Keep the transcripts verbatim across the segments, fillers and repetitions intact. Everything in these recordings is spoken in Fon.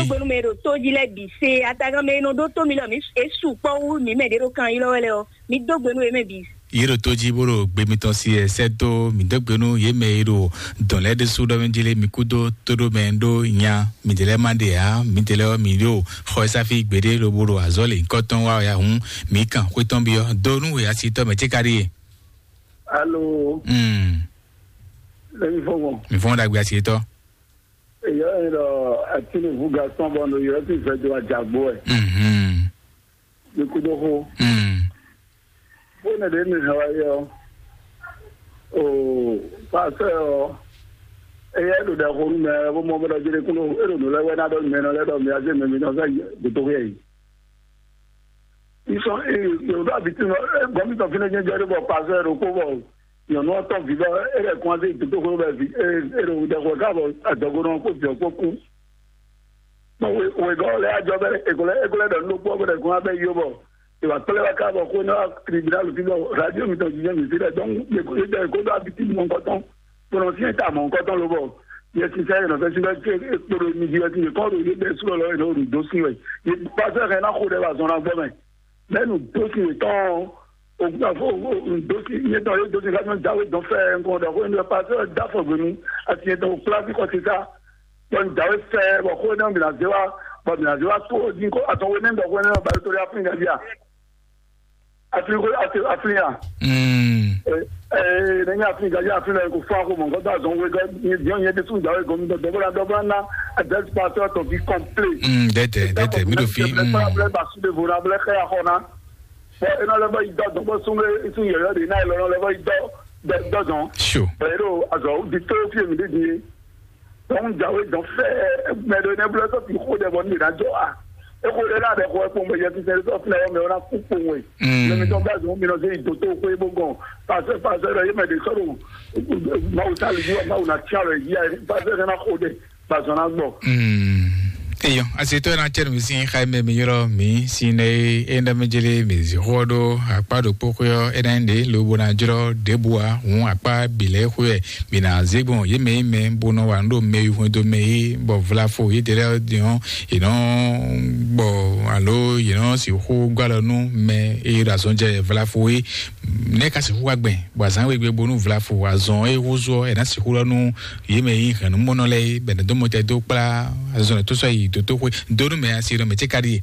Gbenu mɛ ɖo tó jí lɛ́ɛ bǐ se, atagán mɛ e nɔ ɖó tó mi lɔ mǐ e sukpɔ́ wú mǐ mɛ ɖě ɖo kan ylɔ́ wɛ lɛ́ɛ ɔ́, mǐ dó gbe nú yě mɛ bǐ. Yě ɖo tó jí bó ɖo gbe mitɔn si ɛ sɛ́ dó mǐ dó gbe nú yě mɛ e ɖo dɔ̌n lɛ́ɛ ɖésú ɖɔ mɛ jí lé mi kú dó tóɖó mɛ ɖó nya mǐdɛɛ lɛ́ɛ ma ɖe ǎ, mǐdɛɛ lɛ́ɛ ɔ́ mǐ ɖo xɔ e sáfí gbeɖé lobo ɖo azɔ̌ lě nyǐkɔ tɔn wa wɛ ǎ hǔn, mǐ kan xwé tɔn byɔ́ dó nú wěyásitɔ́ mɛ cé ka ɖíe. Alo, Mm, lẹ́yìn fọ́nmọ́. Mǐ fɔ́n ɖagbe asitɔ́. Èyí ẹ̀ lọ Tinubu Gaston bɔ nɔ yɔ ti fẹ́ do àjàgbó ẹ̀. Mhm. Ní kúdó xó. Mm. Bó nɛ ɖě mi hɛn wá yɔ. O pasɛ ɔ. Eyɛ ɖo ɖɛ xó nú mɛ bó mɔ bó ɖɔ jɛɖɛ kúndó é ɖo nǔ lɛ́ wɛ ná ɖɔ mɛ nɔ lɛ́ ɖɔ mi azé mɛ mi nɔ fẹ́ dòtó xó yɛ yi. Isɔn ee yòdó abitinu ɛ gɔmitɔ fínɛ jẹjẹ ɖé bɔ pasɛ ɖokpó bɔ nyɔnu ɔtɔn vivɛ ɛ lɛ kún azé dòtó xó bɛ vi ɛ ɛ ɖo ɖɛ xó ká bɔ adɔgo nɔ kó jɔ kó kú. Bɔn wegɔ́ lɛ́ɛ ajɔ bɛ ekolɛ ekolɛ ɖɔ nukpɔ bɛ ɖɛ kún abɛ yó bɔ ìwà kplɛ wa ká bɔ xó ná tribunal fi bɔ radio mi tɔn jijɛ mi fi lɛ dɔn yedɔ eko ɖo abiti mɔ nkɔtɔn kplɔn fiɛ ta mɔ nkɔtɔn lobɔ yɛ sisan yɛ nɔfɛ sin bɛ kpolo mi di wɛ ti yɛ kɔ ɖo yedɔ esu lɔ yɛ nɔ ɖo do sin wɛ yɛ pasɛ hɛn na xo ɖɛ wa zɔn na gbɔ mɛ. Bɛnu do sin yɛ tɔn o gbafo do sin yɛ tɔn yɛ do sin ka nyɔ jawe dɔn fɛ nkɔ dɔ xo yɛ pasɛ da fɔ gbenu asi yɛ tɔn o kpla fi kɔ sisa. Bɔn jawe fɛ bɔ xo yɛ nɔ mi na ze wa bɔ mi na ze wa to din ko atɔn wo ne bɔ xo yɛ nɔ ba to ya fun ya ya. Afin ko afin afin ya. Mm. Eh, eh, ne nya afin ga ya afin la ko fa ko mo ko da zon we ga ni dion ye de sun jawe go mi do do bra do bra na a des pastor to be complete. Mm, dete, dete, mi do fi. Mm. Bla bla ba su de vora bla kha ya xɔ na. Bɔ e nɔ lɛ bɔ yi dɔ dɔn bɔ sun e sun yɛyɛ de na e lɔ nɔ lɛ bɔ yi dɔ dɔ dɔn. Sure. Bɛ e ɖo azɔ di to fi mi de di ye. Dɔn jawe dɔn fɛ mɛ ɖo ne blɛ sɔ fi xo ɖɛ bɔ ne na jɔ a. E xo ɖɛ na ɖɛ xɔ e kpɔn bɛ yɛ fi sɛ sɔ fi na yɔ mɛ o na ku kpɔn we. Mm. Ne mi tɔn bɛ zɔn mi nɔ se yi doto xo e bo gɔn. Pasɛ pasɛ ɖɔ ye mɛ de sɔ ɖo Mawu ta li yi wa Mawu na tia lɔ yi ya pasɛ ne na xo ɖɛ. Gbazɔn ná gbɔ. Mm. Eyɔ, asi to na cɛ nu sin xa me mi yɔrɔ mi sin ne e nda me jele mi zi xɔ do akpa do kpo xɔ e na de lo bo na jrɔ de bua hun akpa bi le xɔ e mi na ze gbɔn ye me me bo no wa ndo me yu do me yi bɔ vlafo ye de le dion e no bɔ alo ye no si xo gbalɔ nu me e da zɔn jɛ vlafo yi ne ka si xo agbɛn bɔ azan we gbe bonu vlafo azɔn e xo zɔ e na si xo lɔ nu Yě mɛ e nyí hɛ̌nnumɔnɔ lɛ́ɛ é, bɔ è nɔ dó mɔ tɛ dó kplá azɔn tó sɔ́ yi dǒtóxwé dó nú mɛ asi ɖɔ mɛ cé ka ɖíe.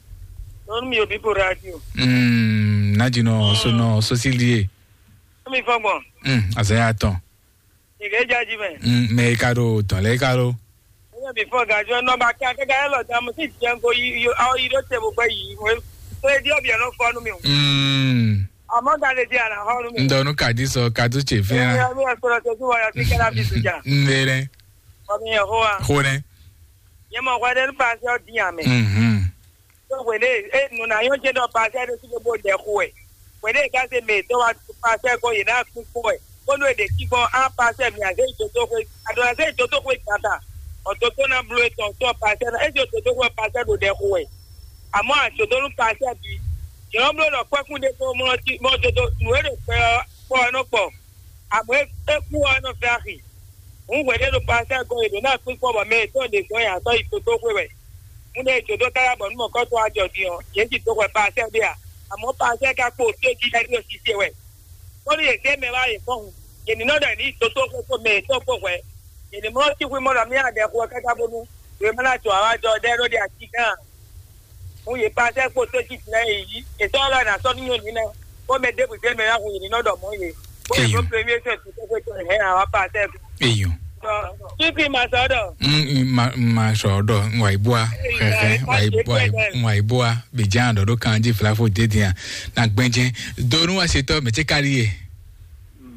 Nɔnu mi obi po radio. Mm, ná jinɔ sónɔ sósílíe. Mi fɔ gbɔn. Mm, azɔn ya tɔn. Ìgbé jáde mɛ. Mm, mɛ e ka ɖo tɔn lɛ e ka ɖo. Ɛyɛ mi fɔ gajɔ nɔ ba kí akẹ́kẹ́ ẹ lọ dá mo sì jẹ́ nko yi yi awo yi ɖó te mo gbɛ yi mo. Tó e di ọbẹ̀ lọ fọ́ nu mi o. Mm. Àmọ́ ga lè di àná họ́ nu mi. Ŋdɔ nu ka di sɔ ka tu tse fia. Ẹ mi ẹ sọ̀rọ̀ tó tún wáyà sí kẹ́lá bí sójà. Ŋdɛ rɛ. Ọmọ yẹn hó wa. Hó rɛ. Yẹn mọ hwẹ ɖe ní paṣẹ ọdín àmì. Mhm. Tó wèlé e nùnà yóò jẹ dọ paṣẹ ɖe sí gbogbo dẹ xo ẹ. Wèlé ká ṣe mè tó wá paṣẹ kó yìí náà kú kó ẹ. Kó ló èdè kíkọ́ á paṣẹ mi àṣẹ ìtòtó xwe. Àdó àṣẹ ìtòtó xwe tata. Ọ̀tòtó náà blo ètò ọ̀tún paṣẹ náà. Èsì òtòtó xwe paṣẹ ló dẹ xo ẹ. Àmọ́ àṣòtó ló paṣẹ bí. Yọ̀ọ́ blo lọ pẹ́kún dé kó mọ́ tí mọ́ tó tó nù é lè pẹ́ ọ́ pọ́ ẹ náà pọ̀. Àmọ́ é kú ọ́ ẹ náà fẹ́ àxì. Ń wɛ̌ ɖé ɖo paṣẹ gɔn e ɖǒ ná kpín kpɔ́ bɔ mɛ e tɔn ɖe gɔn yǎtɔ́ yi tótóxwé wɛ. Múnɛ e jǒdó káyá bɔ nú mɔ̌kɔ́tɔ́ wá jɔ din ɔ́, yě ji dó hwɛ paṣɛ ɖé a? Àmọ́ paṣɛ ka kpo tó jí lɛ́ɛ ɖó sise wɛ. Bónú yě zé mɛ wá yě kɔn hun, yě ní nɔ ɖɔ yě ní yi tótóxwé kpó mɛ yětɔn kpó hwɛ̌. Yě ní mlɔ́ sín xwí mɔ ɖɔ mí adɛ xo ɛ káká bónú wě má ná jɔ awá jɔ ɖɛ́ ɖó ɖe ají gán. Hun yě pasɛ kpo tó jí jlɛ yě yí. Yě sɔ́ lɔ ná sɔ́ nú nyɔ̌nu ná. Kó mɛ ɖěbǔ zé mɛ ná hun yě ní nɔ ɖɔ mɔ̌ yě. Kó yě Eyyo. Ɖó premier sɛ tó kó tó hɛn awá pasɛ. Eyyo. Títí ma sɔ ɖɔ. Mm, mm, ma ma sɔ ɖɔ ŋwa ibua xɛxɛ ŋwa ibua ŋwa ibua bidjan ɖɔ ɖo kan jí flafo dédéa na gbɛnjɛ donu asetɔ mɛ tse kari ye.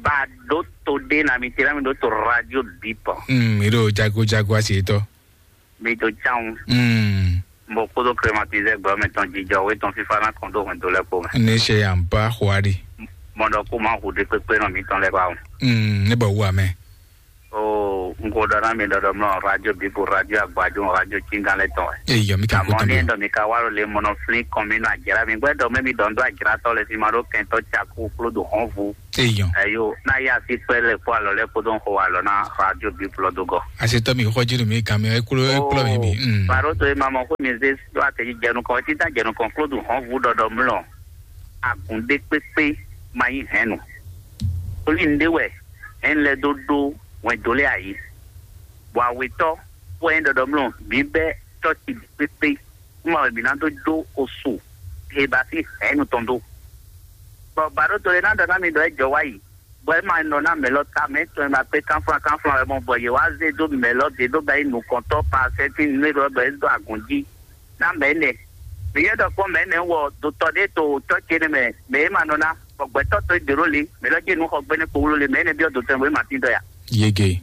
Ba ɖó to ɖé na mi te na mi ɖó to radio bipɔ. Mm, mi ɖo jago jago asetɔ. Mi to tsan. Mm. Mo kódó climatisé gbɔ mɛ tɔn jijɔ wé tɔn fífá ná kɔn dó hɛn dó lɛ kpó mɛ. Ne se yan ba xwari. Mɔ ɖɔ kó ma hu ɖe kpékpé nɔ mi tɔn lɛ ba o. Mm, ne bɔ wu amɛ. Oo. Un ko ɖɔ ná mi ɖɔɖɔ mlɔ radio bibu, radio agbadun, radio cingán lɛ tɔn wɛ. Eyɔ, mi ka ko Àmọ́ tɔn ní bi. Ɛdɔ mi ka wá ló lè mɔnɔ flin kɔn mi nɔ àjẹrà mi gbɛ dɔ mɛ mi dɔ ndo àjẹrà tɔ lɛ fi ma ɖó kɛntɔ tsa kú kpló do hɔn vu. Eyɔ. Eyo, na ya si kpɛ lɛ kpó alɔ lɛ kpó dɔn xo alɔ na radio bibu lɔ do gɔ. Asetɔ mi xɔ jinu mi kan mi eklo eklo mi mi. Mm. Baro to ma mɔ ko mi ze do ate jɛnu kɔn, ti ta jɛnu kɔn kpló do hɔn vu ɖɔɖɔ mlɔ. Agun ɖé kpékpé ma nyí hɛn nu. Torí un ɖe wɛ hɛn lɛ dó ɖó wɛn dó lé ayi. Bɔ awetɔ wɛ nyí ɖɔɖɔ mlɔ mi bɛ tɔ́ ti pépé, kúmɔ wɛ mǐ ná dó jó osu he ba sín hɛ̌nnu tɔn dó. Bɔ bǎɖótɔ́ lɛ́ɛ ná ɖɔ ná mi ɖɔ é jɔ wá yi, bɔ é ma nɔ ná mɛ̌ lɔ ta mɛ tɔn e ma kpé kánflán kánflán wɛ mɔ, bɔ yě wá zé dó mɛ̌ lɔ ɖě dó bɛ́ yi nukɔntɔ́ pasɛ́ sín nǔ e ɖɔ bɔ é dó agun jí ná mɛ̌ nɛ. Mǐ yɛ ɖɔ kpɔ́n mɛ̌ nɛ wɔ dotɔ ɖé to tɔ́ ce nɛ mɛ, mɛ e ma nɔ ná, bɔ gbɛ̌tɔ́ to é ɖě ɖó le, mɛ̌ lɔ jí nǔ xɔ gbɛ́nɛ́ kpowló le, mɛ énɛ́ byɔ́ dotɔ e bó é ma tín dɔ ya. Yege.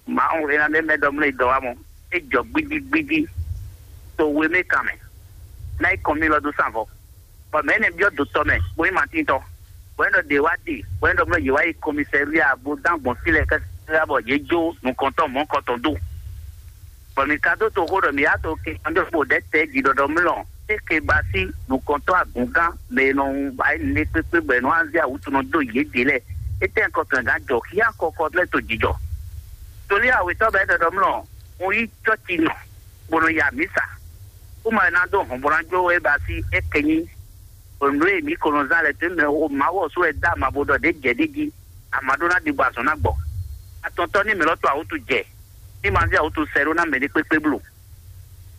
Mawu e ná ɖe mɛ ɖɔ mlɔ́ yi dɔ wá mɔ, é jɔ gbídígbídí to we mɛ kan mɛ, ná yi kɔn mì lɔ dó sanvɔ. Bɔ mɛ énɛ́ byɔ́ dotɔ mɛ, bó nyí Matín tɔn, bɔ é ɖɔ ɖě wá ɖe, bɔ é ɖɔ mlɔ́ yě wá yi kɔmisɛ́ria bó dán gbɔn fí lɛ́ɛ kɛ́kɛ́ bɔ yě jó nukɔntɔn mɔ̌kɔtɔn dó. Bɔ mǐ ka dó toxo ɖɔ mǐ yá to ke kanjɔ kpo ɖɛ̌ tɛ̌ jí ɖɔɖɔ mlɔ́ é ke ba sí nukɔntɔn agǔngán mɛ e nɔ ba é nɛ kpékpé bɔ è nɔ azé awǔtunɔ dó yědɛɛ lɛ́ɛ. Étɛ́ kɔkɛngán jɔ xíá kɔkɔ lɛ́ to jǐjɔ. Tolí awětɔ́ bɛ́ ɖɔɖɔ mlɔ́ un yí cɔ́ci nɔ bó nɔ ya mǐsa. Kúmɔ è nǎ dó hɔnbɔ́najó e ba sí é kɛ nyí nǔ e mǐ ko nɔ zán lɛ́ɛ dó mɛ o Mawu ɔ́ sú wɛ dó ama bo ɖɔ ɖě jɛ ɖ'é jí, ama ɖó ná ɖi bɔ azɔn ná gbɔ. Atɔntɔ́ ní mǐ lɔ to awútu jɛ, ní ma zé awútu sɛ ɖó ná mɛ ní kpékpé bló.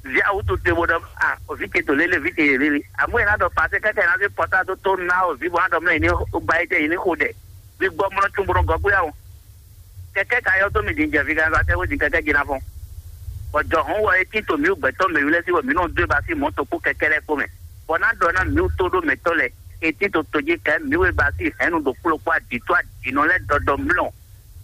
Vǐ awútu te bó ɖɔ a òvǐ ce to lélé, vǐ ce yě lélé. Amú è ná ɖɔ pasé kɛ́kɛ ná zé pɔtá dó tó ná òvǐ bó ná ɖɔ mlɔ́ yě ní ba é jɛ yě ní xo ɖɛ. Vǐ gbɔ mlɔ́ cún bó nɔ gɔ́ gbé awo. Kɛkɛ ka yɔ dó mi din jɛ viganza tɛ wé din kɛkɛ jina fɔn. Bɔ jɔ hɔn wɔ etí to mǐ gbɛtɔ mɛ wílɛ sí wɔ mǐ nɔ dó e ba sí mɔ̌ to kpó kɛkɛ lɛ́ɛ kpó mɛ. Bɔ ná ɖɔ ná mǐ tó ɖó mɛtɔ́ lɛ etí to to jí kɛ mǐ wé ba sí hɛ̌nnu ɖo kplɔ́ kpó adǐ tó adǐnɔ lɛ́ɛ ɖɔɖɔ mlɔ.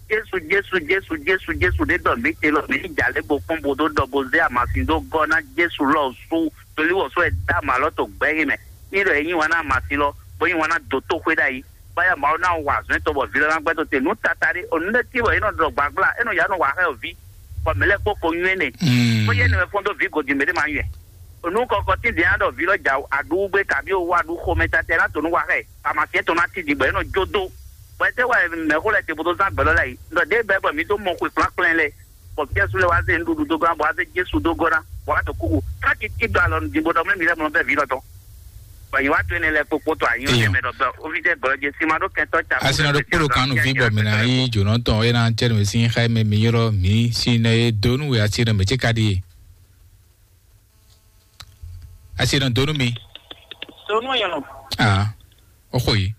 Jesu Jesu Jesu Jesu Jesu ɖé ɖɔ mǐ te lɔ mǐ ní jà lě bo kpɔ́n bo dó ɖɔ bo zé amasin dó gɔ́ ná Jesu lɔ sú tolíwɔ̌ sɔ́ ɛ dá mǎ lɔ to gbɛ́ yé mɛ. Ní ɖɔ é yí wǎn ná amasin lɔ bó yí wǎn ná dó tó xwé ɖ'ayǐ. Báyà Mawu ná wa azɔ̌ tɔn bɔ vǐ lɔ ná gbɛ́ tó te nǔ tata ɖé. O nǔ ɖé tí wɔ é nɔ ɖɔ gbǎgbla, é nɔ yá nɔ wa xá ɛ o ví, bɔ mǐ lɛ́ kpó ko nywɛ́ nɛ. Bó yɛ nɛmɛ fɔ́n dó vǐ godi mɛ ɖé ma nywɛ́. O nǔ kɔkɔ tíndɛn á ɖɔ vǐ lɔ jà aɖúwú gbé kabi o wá ɖu xomɛ tata ná to nú wa xá ɛ. Amasiɛ tɔn ná tíndin bɔ é nɔ jó dó. Bɔ é tɛ wá mɛ̌xó lɛ́ɛ te bó dó zán gbɛ̌ lɔ lɛ́ɛ yi. Nɔ ɖěbǔ bɔ mǐ dó mɔ xwe kplánklɛ́n lɛ́ɛ. Bɔ Jesu lɛ wá zé nǔɖuɖu dó gán, bɔ wá zé Jesu dó gɔ́ ná, bɔ wá to kúkú. Káàkiri tí ɖo alɔ nǔdín bó ɖɔ mɛ mi lɛ mlɔ bɛ vǐ lɔ tɔn. Bɔ yě wá to énɛ́ lɛ kpokpó to anyɔ Eyɔn. Mɛ ɖɔ bɔ ovi tɛ gbɔ jɛ sima ɖo kɛntɔ ca. Asi na ɖo kpolo kan nu vi bɔ mi na yi jonɔ tɔn ena cɛ nu si xa mɛ mi yɔrɔ mi si na ye donu we asi na mɛ cɛ ka di. Asi na donu mi. Donu yɔrɔ. Ah, o xo yi.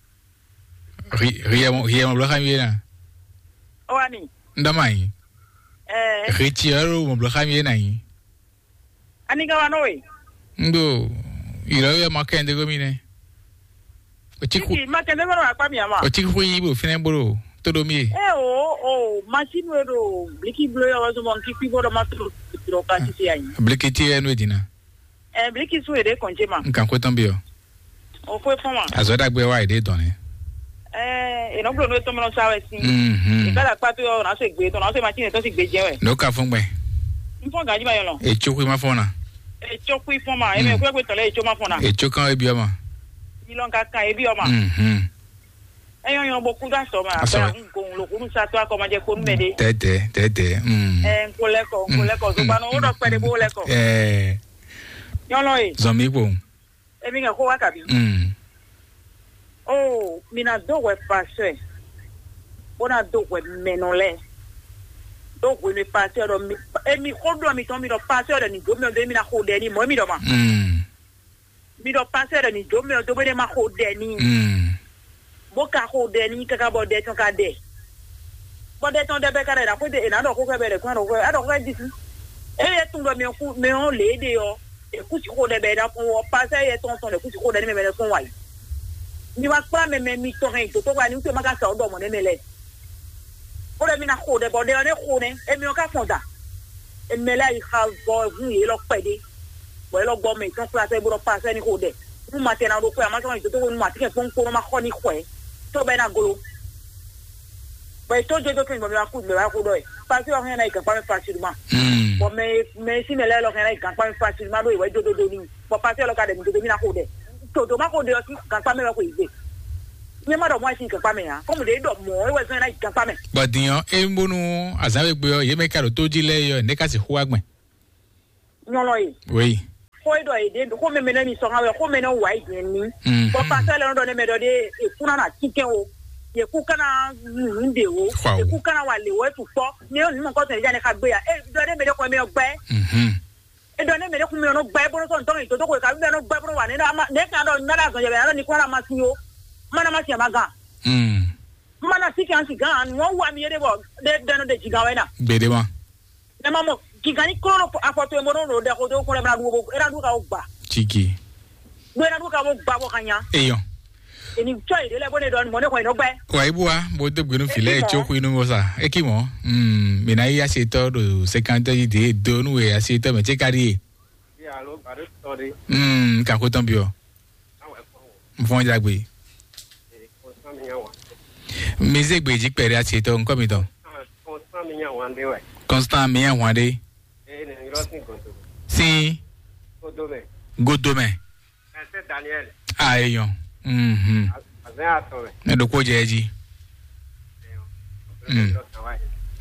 Ri ri mo ri mo blo xa mi na. O ani. Ndama yi. Eh. Ri ti ro mo blo xa mi na yi. Ani ka wa nɔ we? Ndo, ìrọ̀lẹ́ ọmọ kẹ́hìndé gómìnà. Òtíkù. Ìdí má kẹ́hìndé gbọ́dọ̀ wá pa mi àmọ́. Òtíkù yìí bò fínẹ́ gbọ́dọ̀ tó domi yìí. Ẹ o o masinu e ɖo bliki blo yɔ wazɔ mɔ nkikui gbọ́dọ̀ má tó ɖo ka titi ayi. Bliki ti yɛ nu edina. Ɛ bliki su ede kɔnje ma. Nkan ko tɔn bi yɔ. O ko fɔn ma. Azɔ dagbe wa ede dɔn ne. Ɛɛ enɔ blo n'o tɔmɔ sa wɛ si. Mhm. Ìgbàlá kpató yɔ n'a se gbé tɔn n'a se ma ti ne tɔn si gbé jɛ wɛ. N'o ka fún gbɛ. N fɔn ganji ma yɔ lɔ. Etsó kui ma fɔn na. Etsó kui fɔn ma eme kúrẹ́ pé tɔ̀lẹ́ etsó ma fɔn na. Etsó kan ebi ɔma. Ilɔn ka kan ebi ɔma. Mhm. Eyɔ yɔ bo kú dá sɔ ma. Asɔ. Bẹ́ẹ̀ n gòun lo kúrú sa tó akɔmọdé kó nú mɛ dé. Tɛtɛ tɛtɛ. Mm. Ɛ n ko lɛkɔ n ko lɛkɔ zogbanɔ wo dɔ kpɛ de bo lɛkɔ. Ɛɛ. Nyɔlɔ ye. Zɔn mi kpo. Emi ŋa xó wá kabi. Mm. Oh, mi na do hwɛ pasteur. Bo na do hwɛ mɛnɔ lɛ. Do hwɛ mi pasteur dɔ mi emi xó dɔ mi tɔn mi dɔ pasteur dɔ ni do mi dɔ mi na xó dɛ ni mɔ mi dɔ ma. Mm. Mi dɔ pasteur dɔ ni do mi dɔ mi ma xó dɛ ni. Mm. Bó ka xo ɖɛ n'i káká bɔ ɖɛ tɔn ka ɖɛ. Bɔ ɖɛ tɔn ɖɛ bɛ ka ɖɛ ɖaxó ɖe è nǎ ɖɔ xó xɛ bɛ ɖɛ kún aɖɔ xó xɛ aɖɔ xó xɛ ɖi fún. Eye tún ɖɔ mɛ kú mɛ ɔ́ lě ɖe ɔ́, è kú si xo ɖɛ bɛ è nǎ kún ɔ pase yɛ tɔn tɔn ɖɛ kú si xo ɖɛ ní mɛ mɛ ɖɛ kún wa yi. Mi wá kplá mɛ mɛ mitɔn hɛn yi dǒtó wa ní wútu ma ka sa ɔ́ ɖɔ mɔ̌ nɛ́ mɛ lɛ́ɛ. Bó ɖɔ mi ná xo ɖɛ bɔ ɖɛ ɔ́ nɛ́ xo nɛ́, émi ɔ́ ka fɔn da. Émi lɛ́ɛ yi xa vɔ hun yě lɔ kpɛɖé. Bɔ é lɔ gbɔ mɛ tɔn kplá sɛ bó ɖɔ pa sɛ ní xo ɖɛ. Nú ma tɛ ná ɖo xwɛ, a ma sɔn yi dǒtó nú ma tɛ kpɔ́n kpɔ́n ma xɔ ní xwɛ. Tó bɛ ná glo. Bɔ è tó jójó kɛn bɔ mi wá kú mi wá kó ɖɔ ɛ. Pasi ɔ hɛn ná yi gànpá mi facilement. Bɔn mɛ mɛ si mɛ lɛ lɔ hɛn ná yi gànpá mi facilement ɖo ìwé jódódó ní. Bɔn pasi ɔ lɔ ka ɖɛ mi dodo mi ná kó ɖɛ. Tòdó má kó ɖe ɔ sí gànpá mɛ wɛ kó yi gbé. Nyɛ má ɖɔ mɔ ɛ sí gànpá mɛ ǎ. Kɔmi ɖe ɖɔ mɔ ɛ wɛ zɔn ná yi gànpá mɛ. Bɔ din ɔ, e ń bónú azǎn we gbé ɔ, yě mɛ ka ɖo tó jí lɛ́ɛ yɔ, nɛ̌ ka sixú wá gbɛn? Nyɔlɔ ye. Oui. Xó e ɖɔ yě ɖe xó mɛmɛ nɛ mi sɔn wɛ xó mɛ nɛ wà yi jɛn mi. Mhm. Bɔn pasɛ lɛ nɔ ɖɔ ne mɛ ɖɔ ɖe ekú na na titɛn o, yekú kana nu de o, Xɔ o. Ekú kana wa le o etu kpɔ. Ne yɔ nu mɔ kɔsɔn yɛ ne xa gbé ya e ɖɔ ne mɛ ɖe kɔ mɛ gbɛ. Mhm. E ɖɔ ne mɛ ɖe kun mɛ nɔ gbɛ bolo sɔn tɔn yi toto ko ka mɛ nɔ gbɛ bolo wa ne na ma ne kan dɔ na da zɔn yɛ bɛ na ni kɔ na ma si o. Ma na ma si ma gan. Mm. Ma na si kan si gan nu wa mi ye de bɔ de de no de jigan wɛ na. Gbede ma. Ne ma mɔ gigan ni klo afɔtu e mo ɖo ɖo ɖe xo do kun lɛ ma ɖu ko e na ɖu ka wo gba. Tiki. Ɖo e na ɖu ka wo gba ko ka nya. Eyɔn. Eni tsɔ yi ɖe lɛ bo ne ɖɔ mɔ ne xɔ yi nɔ gbɛ. Wa ibu wa bo do gbenu filɛ Eki mɔ. Tso xu inu mo sa. Eki mɔ. Hmm, mina yi asi tɔ do sekante yi de do nu we asi tɔ mɛ tse kari ye. Alo bari tɔ de. Hmm, ka ko tɔn biɔ. Awo ɛkɔ. N fɔn jagbe. Ee, kɔnsɔn mi nya wa. Mi ze gbeji kpɛɖe asi tɔ nkɔ mi tɔn. Kɔnsɔn mi nya wa de wɛ. Constant mi nya wa de. Ee, ne yɔrɔ sin godo. Sin. Godo mɛ. Godo mɛ. Ɛsɛ Daniel. Ah, eyɔn. Mhm. Azɛ atɔ mɛ. Ne ɖokpo jɛ edzi. Mm.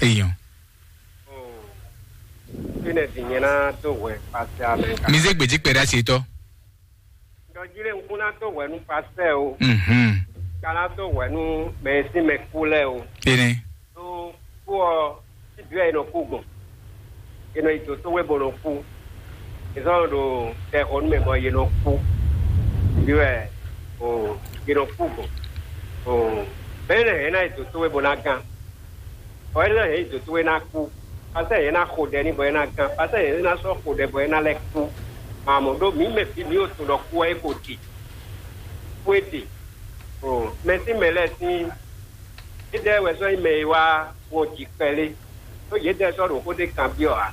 Eyɔn. Fine di nyɛ na do hwɛ pasi amɛ. Mi ze gbeji kpɛɖe asi tɔ. Dɔji le ŋkun na do hwɛ nu pasi o. Mhm. Ka na do hwɛ nu mɛ e sin mɛ kú lɛ o. Ene. Ɖó kú ɔ́, síbí wɛ è nɔ kú gbɔn. È nɔ yi dǒtówé bó nɔ kú. È zɔ́n ɖo tɛxɔnú mɛ bɔ yě nɔ kú. Síbí wɛ o, yě nɔ kú gbɔn. O, mɛ̌ nɛ hɛn ná yi dǒtówé bó ná gán? Bɔ é ná hɛn yi dǒtówé ná kú. Pasɛ yě ná xo ɖɛ ní bɔ é ná gán. Pasɛ yě ná sɔ́ xo ɖɛ bɔ é ná lɛ́ kú. Mamɔ̌ ɖó mǐ mɛ bǐ mǐ ɖo tunwun ɖɔ kú ɔ́ é ko ɖi. Kú é ɖi. O, mɛ sín mɛ lɛ́ɛ sín Édɛɛ wɛ sɔ́ nyí mɛ e wá wɔn jǐ kpɛlé, ɖó yědɛɛ sɔ́ ɖo xó ɖé kanbyɔ́ ǎ.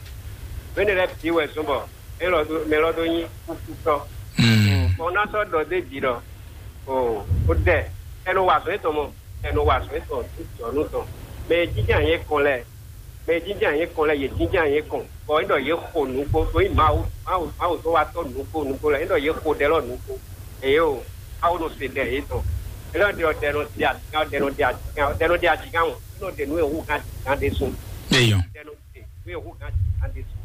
Nǔ énɛ́ lɛ́ɛ bǐ wɛ zɔ́n bɔ mɛ lɔ dó mɛ lɔ dó nyí kúkútɔ́. Bɔ un ná sɔ́ ɖɔ d'é jí ɖɔ, o, ó dɛ, ɛ nɔ wa azɔ̌ étɔn mɔ, ɛ nɔ wa azɔ̌ étɔn jɔ̌nú tɔn. Mɛ e jínjɔ́n ayǐ kɔn lɛ́ɛ, mɛ e jínjɔ́n ayǐ kɔn lɛ́ɛ, yě jínjɔ́n ayǐ kɔn, bɔ é ɖɔ yě xo nǔgbó, ɖó nyí Mawu, Mawu, Mawu tó wá tɔ́ nǔgbó nǔgbó lɛ́ɛ, é ɖɔ yě xo ɖɛ lɔ nǔgbó. Eye o, awo nɔ se ɖɛ yětɔn. Elɔ ɖe ɔdɛ nɔ ɖe agan, ɔdɛ nɔ ɖe agan, ɔdɛ nɔ ɖe agan wɔn. Nɔ ɖe nú ewu gan gan ɖe sun. Eyɔn. Ɔdɛ nɔ ɖe nú ewu gan gan ɖe sun.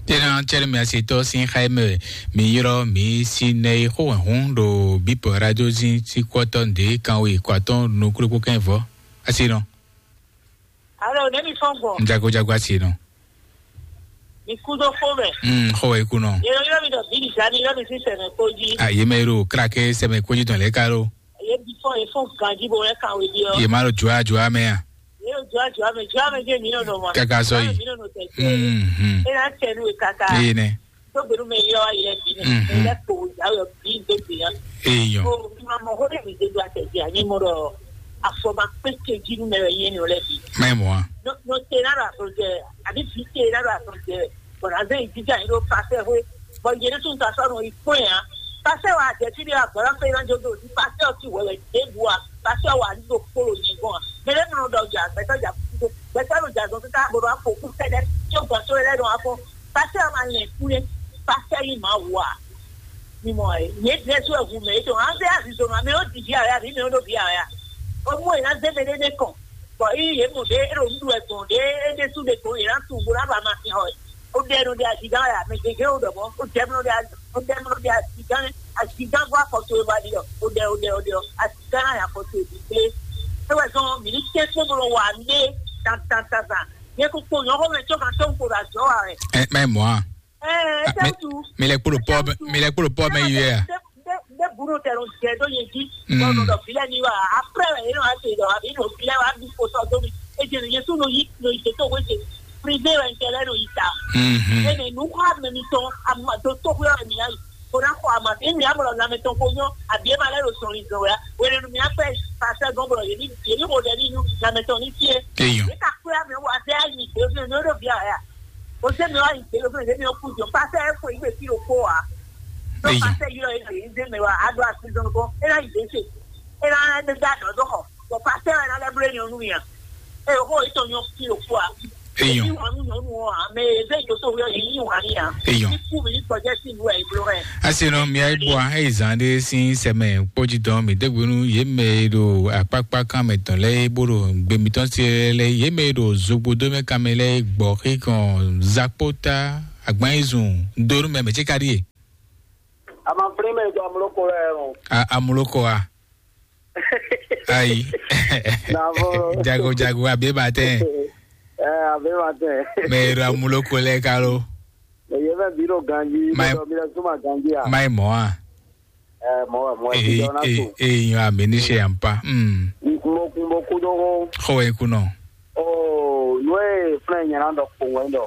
Tena cɛri mi asi tɔ sin xa mɛ mi yrɔ mi si nɛ yi xo hun ɖo bipɔ radio zin si kɔtɔ nde kan we kɔtɔ nukuru ko kɛn vɔ. Asi nɔ. Alo, ne mi fɔn gbɔ. Jago jago asi nɔ. Mi kú dó xó mɛ. Hmm, xó wɛ ikú nɔ. Yɛ yɔ mi dɔ bíbí sani yɔ mi sí sɛnɛ kpó jí. A yé mɛ ro kra ke sɛmɛ kpó jí tɔn lɛ ka ro. Yɛ bi fɔ yɛ fɔ ganji bo yɛ kan wé bi ɔ. Yé ma ro jua jua mɛ ya. Yɛ ro jua jua mɛ jua mɛ jɛ mi nɔ nɔ ma. Kaka sɔ yi. Mi nɔ nɔ tɛ tɛ. Hmm, hmm. E na tɛ nu e kaka. Yé nɛ. Tó gbenu mɛ yɔ ayɛ bi nɛ. Hmm, hmm. Lɛ kpo ya yɔ bi do bi ya. Eyɔn. O ma mɔ xó dɛ mi de do atɛ di a nyɛ mɔ dɔ afɔ ma kpé ke jí nu mɛ wɛ yɛ ni o lɛ bi. Mɛ mɔ a. No no te na do afɔ jɛ abi bi te na do afɔ jɛ. Bɔn azɛn yi jija yi ɖo pasɛ hwe. Bɔn yɛ ɖe tun ta sɔ nɔ yi kpɔn ya. Pasɛ wa jɛ ti de wa gbɔdɔ fɛ na jo do ti pasɛ ɔ ti wɛ wɛ de bu a. Pasɛ wa ni do kpolo yi gbɔn a. Mɛ ɖe mɔ dɔ ja gbɛtɔ ja gbɛtɔ do ja zɔn tita bo do afɔ ku kɛdɛ. Tso gbɔn so lɛ dɔn afɔ. Pasɛ ma lɛ ku lɛ. Pasɛ yi ma wa. Mi mɔ ɛ. Yɛ dɛ so ɛhu mɛ etɔn. An fɛ azizo ma mɛ o di bi a ya bi mɛ o do bi a ya. O mu e na zɛ mɛ ɖe ne kɔn. Bɔn yi yɛ mɔ ɖe e ɖo nuɖu wɛ gbɔn ɖe e ɖe su ɖe gbɔn yɛ na tu bo na ba ma fi hɔ. O ɖɛ nɔ ɖe azigan ya mɛ gege o ɖɔ mɔ o ɖɛ nɔ ɖe o ɖɛ nɔ ɖe azigan azigan bɔ akɔto e ba ɖi ɔ o ɖɛ o ɖɛ o ɖɛ o azigan na ya akɔto e bi kple. E wɛ zɔn mi ni tɛ kpɔn bɔ wa ne tan tan tan tan. Yɛ ko kpo nyɔxɔ mɛ tsɔ kan tɔn ko ɖo azɔ wa wɛ. Ɛ mɛ mɔ a. Ɛ ɛ tɛntu. Mi lɛ kpolo pɔ mi lɛ kpolo pɔ mɛ yi wɛ a. Nde bunu tɛ no jɛ do yin ji. Bɔn no dɔ filɛ ni wa. Après wɛ yɛ no ase dɔ abi no filɛ wa bi ko sɔ do mi. E jɛ no yɛ su no yi no yi to we jɛ. Privé wɛ n tɛ lɛ no yi ta. Mhm. E ne nu kɔ amɛ mi tɔn ama do to kuyɔ mi ayi. Ko na kɔ ama e mi amɔ lɔ lamɛ tɔn ko nyɔ abi e ma lɛ do sɔn li zɔn wɛ. Wɛ ne nu mi akpɛ pasɛ gɔn bɔ yɛ ni yɛ ni ko dɛ ni nu lamɛ tɔn ni fie. Eyɔn. E ka kuyɔ mi wa fɛ ayi mi do mi do bi a ya. O se mi wa yi gbé lóko lè mi kú jọ pásẹ ẹ fún ìgbé kí ló kó wa. Tó pásẹ yìí lọ yìí lè ṣe mi wa a do àti zɔn kó e na yi gbé ṣe e na ne da dɔ dɔ xɔ bɔ pásẹ ẹ na lẹ blo ènìyàn nù yàn. Eye xó yětɔn nyɔ́ fí ɖo fó a. Eyɔn. Èyí wà nú nyɔ̌nu ɔ́ ǎ, mɛ e zé jǒtó wí ɔ́, yě yí wǎn n'i ǎ. Eyɔn. Ní kú mi ní gbɔjɛ́ sín nǔ wɛ è bló wɛ. Asi nɔ mia yi bua eyi zan ɖe sin sɛmɛ kpɔji dɔn mi degbe nu ye mɛ e ɖo akpakpa kan mɛ tɔn lɛ e bo ɖo gbe mitɔn se lɛ ye mɛ e ɖo zogbo do mɛ kan mɛ lɛ gbɔ xikɔn zakpota agban yi zun do nu mɛ mɛ ce ka ɖi ye. Ama fli mɛ do amuloko lɛ o. A amuloko a. Ayi. Navɔ. Jago jago abe ba tɛ. Ɛ, abe ba tɛ. Mɛ e ɖo amuloko lɛ ka lo. Mɛ ye mɛ bi ɖo ganji. Mai- Ɖɔ mi lɛ suma ganji a. Mai mɔ a. Ɛ, mɔ wɛ, mɔ wɛ, ee, ti dɔ na ee, to. Ee, nyɔ ami ní ṣe yàn pa. Mm. Mo kun mo kú dó hó. Xɔ wɛ kunɔ. Oo, nú e fúnɛ nyɛ ná ɖɔ kpowun wɛ ɖɔ.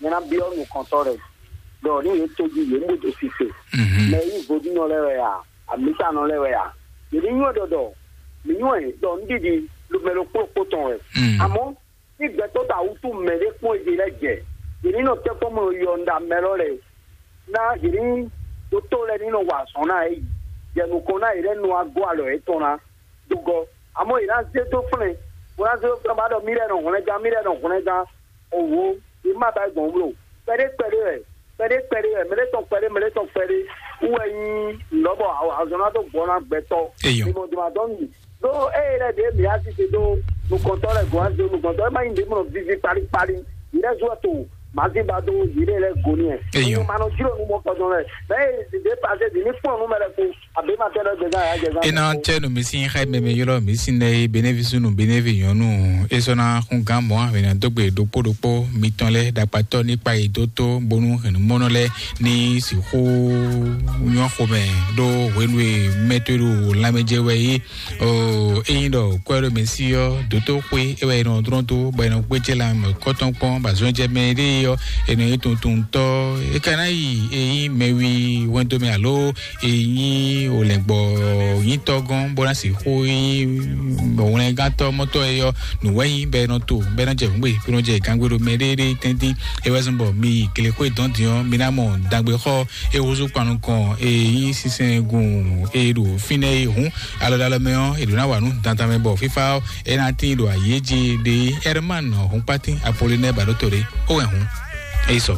Nyɛ ná byɔ́ nukɔntɔ́ lɛ ɖɔ ní yě tójú yě mú ɖo sise. Mhm. Mɛ yí vodúnɔ lɛ́ɛ wɛ a, amǐtanɔ lɛ́ɛ wɛ a. Yě ní nywɛ́ ɖɔ ɖɔ mǐ nywɛ́ ɖɔ nǔɖiɖi mɛ ɖokpó ɖokpó tɔn wɛ. Mm. Àmọ́ ní gbɛtɔ́ ta wútu mɛ ɖé kpɔ́n yě lɛ́ɛ jɛ, yě ní nɔ tɛ́nkpɔ́n mɔ yɔ nda mɛ lɔ lɛ ná yě ní dótó lɛ́ɛ ní nɔ wa azɔ̌ ná yě yi, jɛ nukɔn ná yě lɛ́ɛ nɔ wá gɔ́ alɔ yětɔn ná dó gɔ́. Àmọ́ yě ná zé dó flɛ́n, bó ná zé dó flɛ́n bá ɖɔ mí lɛ́ɛ nɔ hwlɛngán, mí lɛ́ɛ nɔ hwlɛngán. Owo, yě má ba gbɔn wló. Kpɛɖé kpɛɖé wɛ, kpɛɖé kpɛɖé wɛ, mɛɖé tɔn kpɛɖé, mɛɖé tɔn kpɛɖé. Wú wɛ nyí nǔ bɔ azɔn ná dó gbɔ ná gbɛtɔ́. Eyɔn. Ìmọ̀ dùn àdán mi. Ɖó eye lɛ ɖě mǐ á sise dó nukɔntɔ́ lɛ gɔ̌n á zé nukɔntɔ́. É má nyí ɖě mɔ vivi kpalíkpalí. Yě lɛ́ zú wɛ to màzínba dó yě lɛ́ɛ lɛ́ɛ go ní ɛ. Eyɔn. Má nɔ jló nú mɔkɔjɔ lɛ. Mɛ e zǐ dé pazé dǐ ní kpɔ́n nú mɛ lɛ kpo. Àbí ma tɛ lɛ gbɛ gán yà jẹ gán. Ena tse nu mi sin xɛ mɛmɛ yɔlɔ mi sin nɛ ye benevi sunu benevi nyɔnu. Esɔna xun gan mɔ ahwena dogbe ɖokpó ɖokpó mitɔn lɛ ɖakpatɔ ní kpa yi dó tó bónú hɛnumɔnɔ lɛ ní sixú nyɔ xomɛ ɖó hwenu e mɛtɔe ɖo lanmɛjɛ wɛ yí. O eyin ɖɔ kwɛ ɖo mɛ si ɔ dótó xwé e wɛ e nɔ drɔn tó bɔ e nɔ gbéjé lanmɛ kɔtɔn kpɔn ba zɔn jɛ mɛ ɖe ɔ e nɔ yi tuntun tɔ e ka ná yi eyin mɛwi wɛn dó mɛ alo e nyí olɛngbɔ nyitɔ gɔn bó ná sixú nyí wlɛngántɔ mɔtɔ e yɔ nǔwɛ nyí bɛ nɔ to bɛ nɔ jɛ nǔgbè bɛ nɔ jɛ gangbe ɖo mɛ ɖéɖé tɛntin. E wɛ zɔn bɔ mi yi glexwé dɔn din ɔ mi ná mɔ dagbe xɔ e húzú kpanu kɔn e nyí sinsɛn gun e ɖo fínɛ e hǔn alɔdalɔ mɛ ɔ e ɖo ná wà nú dantan mɛ bɔ fífá ɔ e ná tín ɖo ayé jí ɖe. Herman húnkpátín apolinɛ baɖótó ɖé ó wɛ hǔn e sɔ.